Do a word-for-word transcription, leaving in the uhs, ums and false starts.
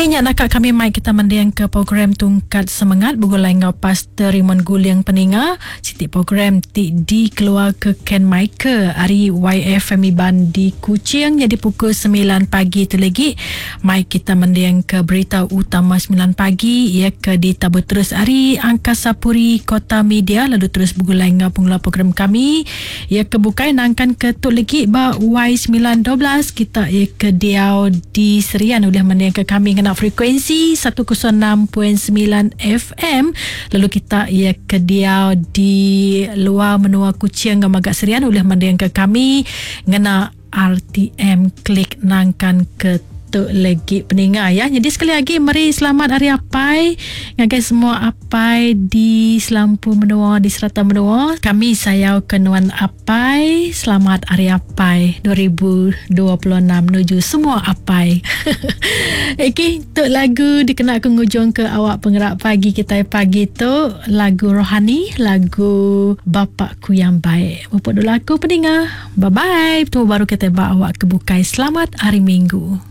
Okey, nya naka kami mai kita mending ke program Tungkat Semengat begulai enggau Pastor Raymond Guling Peninga. Siti program ti dikeluar ke Ken Michael ari Y F M Iban di Kuching. Jadi pukul sembilan pagi tu lagi mai kita mending ke berita utama sembilan pagi ia ke ditabur terus ari Angkasa Puri Kota Media, lalu terus begulai enggau pengeluar program kami ia ke bukai nangkan ke tu lagi ba Y sembilan dua belas kita ia ke diau di Serian ulih mending ke kami ngena frekuensi seratus enam titik sembilan F M, lalu kita ia ke diau di luar menua Kuching enggau Magak Serian ulih mending ke kami ngena R T M klik nangkan ke tu lagi peninga ya. Jadi sekali lagi meri selamat hari apai ngagai semua apai di selampu menua, di serata menua. Kami sayau ke nuan apai. Selamat hari apai dua ribu dua puluh enam menuju semua apai. Okey, tu lagu dikena aku ngujung ke awak penggerak pagi kita pagi tu, lagu rohani, lagu Bapakku Yang Baik. Mupuk dulu aku peninga. Bye bye. Tunggu baru kita ba awak kebukai. Selamat hari Minggu.